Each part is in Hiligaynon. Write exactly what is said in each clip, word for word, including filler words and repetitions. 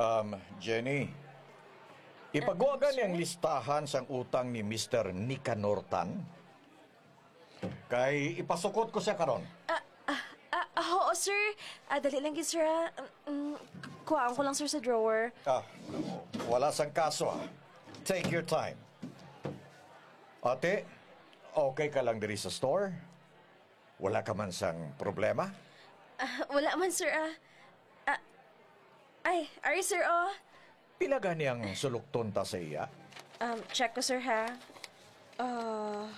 Um, Jenny, ipagwa gani ang listahan sang utang ni Mister Nicanor Tan. Kay ipasukot ko siya karon. Ah, ah, ah, ah, oo, sir. Ah, dali lang gid, sir, ah. Mm, mm, kuhaan ko lang, sir, sa drawer. Ah, wala sang kaso, ah. Take your time. Ate, okay ka lang diri sa store? Wala ka man sang problema? Ah, wala man, sir, ah. Ah, ay, ari, sir, oh. Pila gani ang sulukton ta sa iya? Um, check ko, sir, ha. Ah,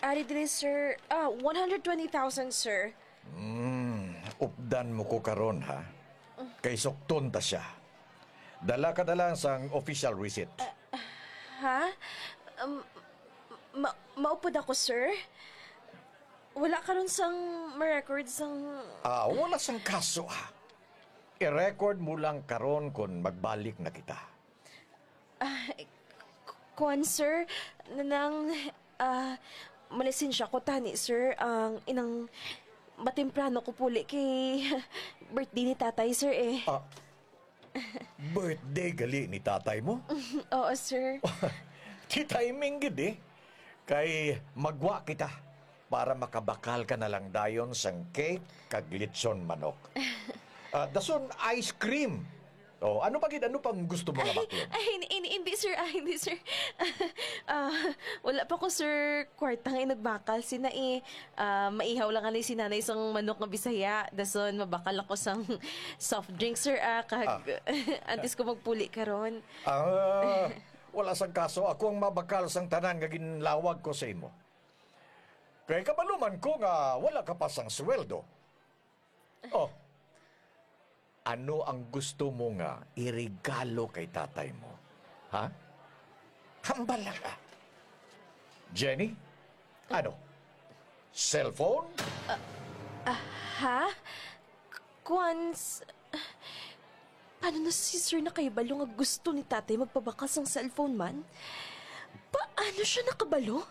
ari diri, sir. Ah, one hundred twenty thousand, sir. Hmm, updan mo ko karon, ha? Kay sukton ta siya. Dala ka na lang sang official receipt. Ha? Um, ma maupod ako, sir? Wala karon sang ma-record sang Ah, wala sang kaso, ha? I-record mo lang karon kon magbalik na kita. Ah, k- kuwan, sir. Nanang, ah, malisensya ko tani, sir. Ang inang matemprano ko puli kay birthday ni tatay, sir, eh. Ah, birthday gali ni tatay mo? Oo, sir. Ti timing gid, eh. Kay magwa kita para makabakal ka na lang dayon sang cake kag lechon manok. Ah, dason ice cream. Oh, ano pa gid, ano pang gusto mo nga baklon? Ay, hindi, hindi, hindi, sir. Ah, hindi, sir. Ah, wala pa ko, sir, kwarta nga inagbakal sina, eh. Ah, maihaw lang ani si nanay sang manok nga Bisaya. Dason mabakal ako sang soft drink, sir, ah, kag Ah. antes ko magpuli karon. Ah, wala sang kaso. Ako ang mabakal sang tanan nga ginlawag ko sa imo. Kay kabalo man ko nga wala ka pa sang sweldo. Oh, ano ang gusto mo nga iregalo kay tatay mo? Ha? Hambal lang ka. Jenny, ano? Cellphone? Ah, ha? K- Kuwan, s- paano na si sir nakahibalo nga gusto ni tatay magpabakal sang cellphone man? Paano siya nakabalo?